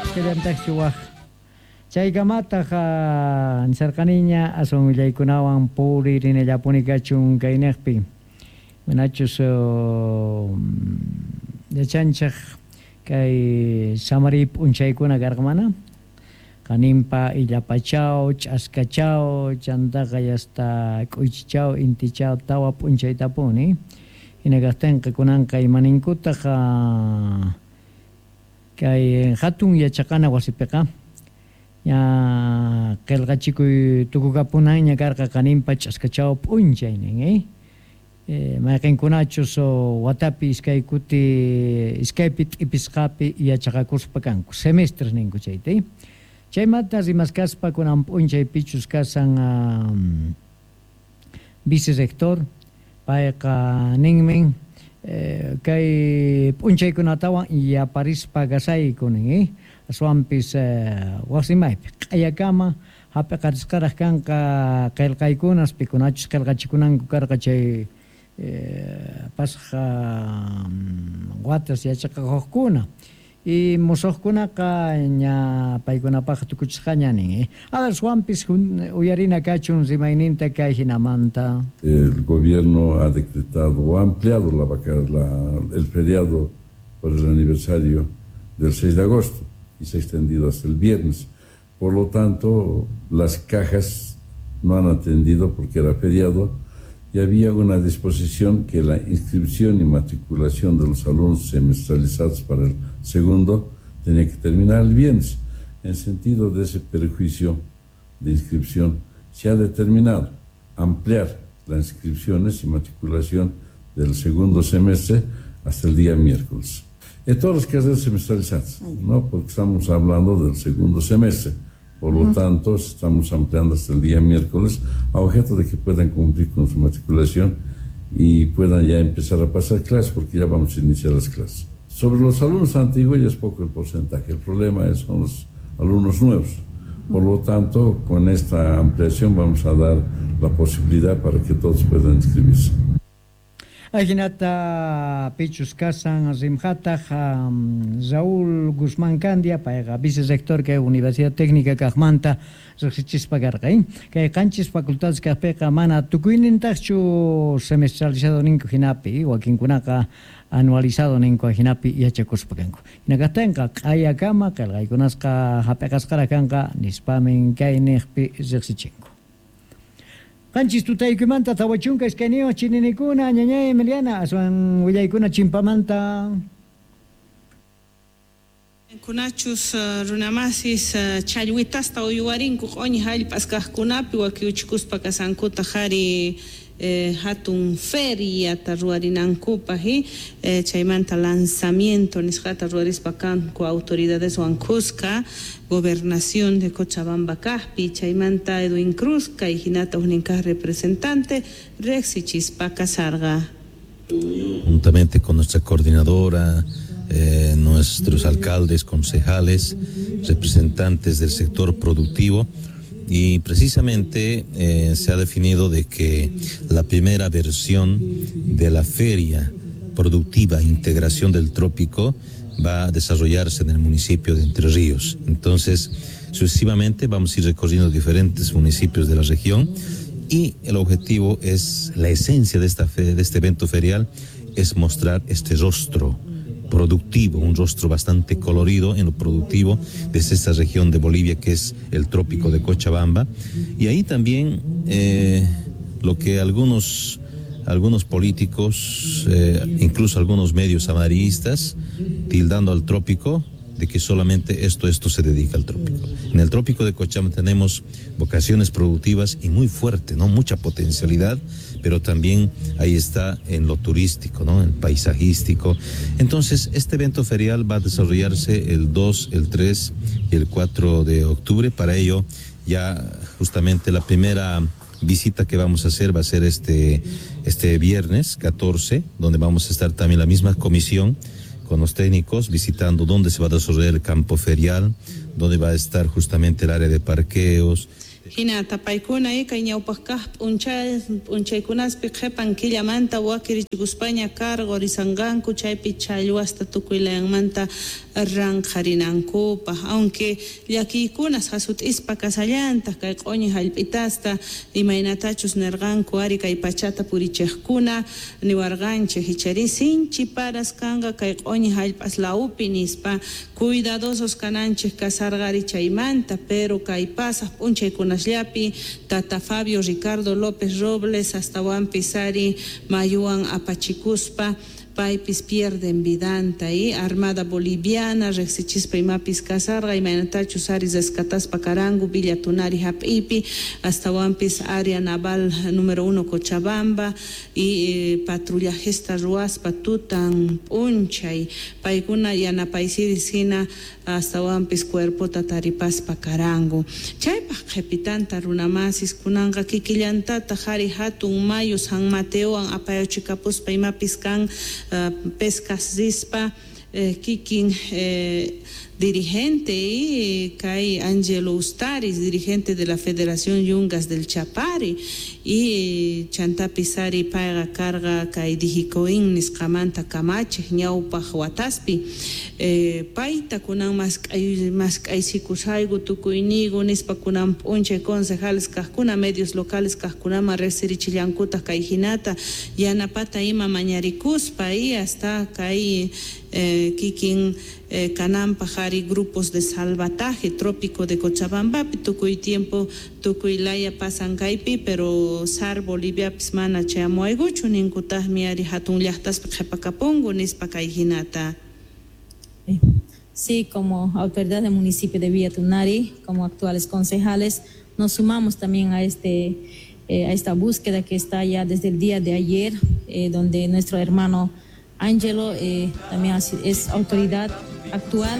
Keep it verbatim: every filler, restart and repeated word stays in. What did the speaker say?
Kallantaqchu waj chaykamataq nisarqaniña aswan willaykunawan puririnallapuni kachun kayniqpi manachus yachanchik kay samariy p'unchaykuna karqa mana qaninpa illapachaw ch'askachaw chantaqa yasta k'uychichaw intichaw tawa p'unchaytapuni hina kaqtinqa kunanqa imaninkutaq kay hatun yachaqana wasipiqa ña qillqachikuy tukukapunanña karqa qaninpa ch'askachaw p'unchaynin eh mayqinkunachus watapi iskay kuti iskaypi t'ipisqapi yachaqakuspa kanku semestres ninku chayta chaymanta rimaskaspa kunan p'unchaypichus kasan vicerrector payqa ninmin kay p'unchaykunatawan yaparispa kasayku nin aswanpis wasimaypi q'ayakama hap'iqarisqaraq kanqa qillqaykunas pikunachus qillqachikunanku karqa chay pasqa watas yachaqakuqkuna y musuqkunaqa ña paykunapaq tukuchisqaña nin aswanpis uyarina kachun rimayninta kay hinamanta. El gobierno ha decretado o ha ampliado la, la, el feriado por el aniversario del seis de agosto y se ha extendido hasta el viernes. Por lo tanto, las cajas no han atendido porque era feriado y había una disposición que la inscripción y matriculación de los alumnos semestralizados para el segundo tenía que terminar el viernes. En sentido de ese perjuicio de inscripción, se ha determinado ampliar las inscripciones y matriculación del segundo semestre hasta el día miércoles. En todas las carreras semestralizadas, ¿no? Porque estamos hablando del segundo semestre. Por lo tanto, estamos ampliando hasta el día miércoles a objeto de que puedan cumplir con su matriculación y puedan ya empezar a pasar clases, porque ya vamos a iniciar las clases. Sobre los alumnos antiguos ya es poco el porcentaje, el problema es, son los alumnos nuevos. Por lo tanto, con esta ampliación vamos a dar la posibilidad para que todos puedan inscribirse. Ajinata pichus kasan rimhataq Raúl Guzmán Candia payqa vicerrector kay Universidad Técnica kaqmanta riqsichispa karqa kay qanchis facultades kaqpiqa mana tukuynintaqchu semestralizado ninku hinapi wakinkunaqa anualizado ninku hinapi yachakuspa kanku hina kaqtinqa q'ayakama qillqaykunasqa hap'iqasqaraq kanqa nispamin kay niqpi riqsichinku. Qanchis tutaykumanta tawa chunka iskayniyuq chininikuna ñañay Emiliana aswan willaykuna chimpamanta. Kunachus runamasis challwitasta uywarinku q'uñi hallp'as kaqkunapi wakiuchikuspa kasankuta qhari hatun feriata ruwarinankupaq chaymanta lanzamiento nisqata ruwarispa kanku autoridadeswan kuska gobernación de Cochabamba kaqpi chaymanta Edwin Cruz kay hinata huknin kaq representante riqsichispa kasarqa. Juntamente con nuestra coordinadora, eh, nuestros alcaldes, concejales, representantes del sector productivo, y precisamente eh, se ha definido de que la primera versión de la feria productiva Integración del Trópico va a desarrollarse en el municipio de Entre Ríos. Entonces, sucesivamente vamos a ir recorriendo diferentes municipios de la región y el objetivo es, la esencia de, esta fe, de este evento ferial es mostrar este rostro productivo, un rostro bastante colorido en lo productivo desde esta región de Bolivia que es el trópico de Cochabamba. Y ahí también eh, lo que algunos, algunos políticos, eh, incluso algunos medios amarillistas, tildando al trópico de que solamente esto, esto se dedica al trópico. En el trópico de Cochabamba tenemos vocaciones productivas y muy fuerte, ¿no? Mucha potencialidad, pero también ahí está en lo turístico, ¿no? En paisajístico. Entonces, este evento ferial va a desarrollarse el dos, el tres y el cuatro de octubre. Para ello, ya justamente la primera visita que vamos a hacer va a ser este, este viernes catorce, donde vamos a estar también la misma comisión con los técnicos visitando dónde se va a desarrollar el campo ferial, dónde va a estar justamente el área de parqueos. Hinata paykuna kay ñawpaq kaq p'unchay p'unchaykunaspi qhipan killamanta wakirichikuspaña cargo risanqanku chaypi challwasta tukuy layanmanta ranqharinankupaq aunque llakiykunas hasut'ispa kasallantaq kay q'uñi hallp'itasta imaynatachus nirqanku ari kay pachata purichiqkuna niwarqanchik ichari sinchi paras kanqa kay q'uñi hallp'as lawpi nispa cuidadosos kananchik kasarqari chaymanta pero kay pasaq p'unchaykunas llapi Tata Fabio Ricardo López Robles astawanpis ari mayuwan apachikuspa paypis pierden vidanta y Armada Boliviana riqsichispa imapis kasarqa imaynatachus ari rescataspa karanku Villa Tunari hap'ipi astawanpis área naval número uno Cochabamba y eh, patrullajesta ruwaspa tutan p'unchay paykuna yanapaysiris hina astawanpis cuerpota taripaspa karanku chaypaq qhipitanta runamasis kunanqa kikillantataq ari hatun mayu San Mateowan apayachikapuspa imapis kan uh, pescas rispa eh, kikin eh, dirigente y kay Angelo Ustaris, dirigente de la Federación Yungas del Chapare y chantapis ari payqa karqa kay Dijicoin nisqamanta kamachiq ñawpaq wataspi eh, payta kunan mask'ay mask'aysikusayku tukuyniyku nispa kunan p'unchay concejales kaqkuna medios locales kaqkunaman riqsirichillankutaq kay hinata yanapata ima mañarikuspa y hasta kay eh, kikin eh, kananpaq ari grupos de salvataje trópico de Cochabambapi tukuy tiempo tukuy laya pasan kaypi pero SAR Boliviapis mana chayamuwaykuchu ninkutaqmi ari hatun llaqtaspi qhipakapunku nispa kay hinata. Sí, como autoridad del municipio de Villa Tunari, como actuales concejales, nos sumamos también a, este, eh, a esta búsqueda que está ya desde el día de ayer, eh, donde nuestro hermano Ángelo eh, también es autoridad actual.